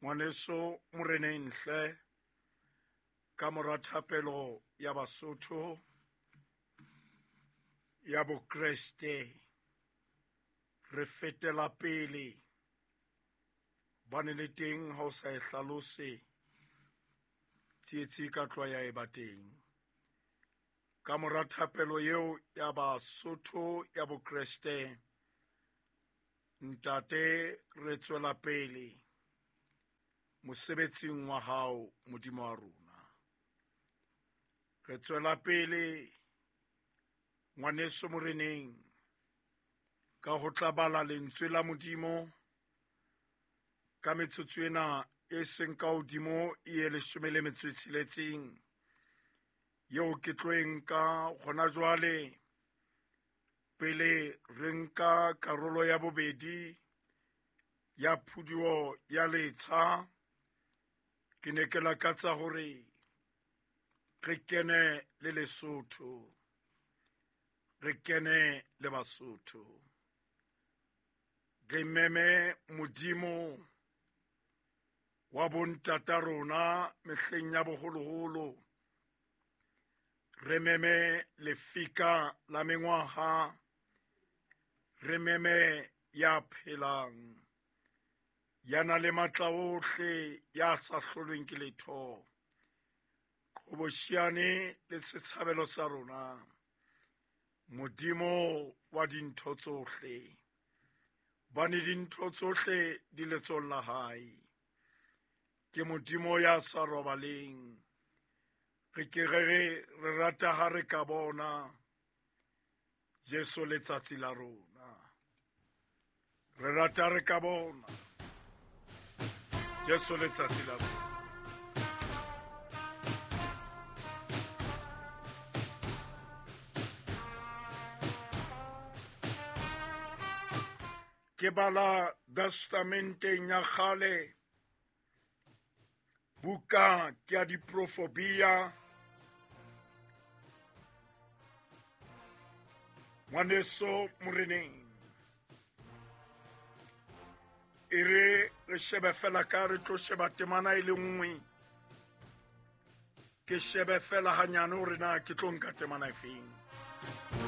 Ngwaneso moreneng hle, ka mora thapelo ya Basotho ya Bokreste, re fetela pele. Bane le teng ha o sa e hlalose, tsietsi e ka tloha ya eba teng. Ka mora thapelo eo ya Basotho ya Bokreste, ntate re tswela pele mosebetsing wa hao Modimo wa rona. Re tswela pele ngwaneso moreneng ka ho tla bala lentswe la Modimo ka metsotso ena e seng ka hodimo e ye 16 eo ke tlo e nka hona jwale pele re nka karolo ya bobedi ya phuduo ya letsha. Ke ne ke lakatsa hore re kene le Lesotho, re kene le Basotho, re meme Modimo wa bontata rona mehleng ya boholoholo, re meme lefika la mengwaha, re meme ya phelang, ya na le matla ohle, ya sa hlolweng ke letho, qhobosheane le setshabelo sa rona, Modimo wa dintho tsohle, bane dintho tsohle di letsohong la hae. Ke Modimo ya sa robaleng. Re ke re re re rata ha re ka bona Jesu letsatsi la rona. Re rata re ka bona Jesu letsatsi la rona. Ke bala testamenteng ya kgale, buka ke ya diprofobia. Ngwaneso moreneng, e re re shebe fela ka re tlo sheba temana e le nngwe, ke shebe fela hanyane hore na ke tlo nka temana e feng.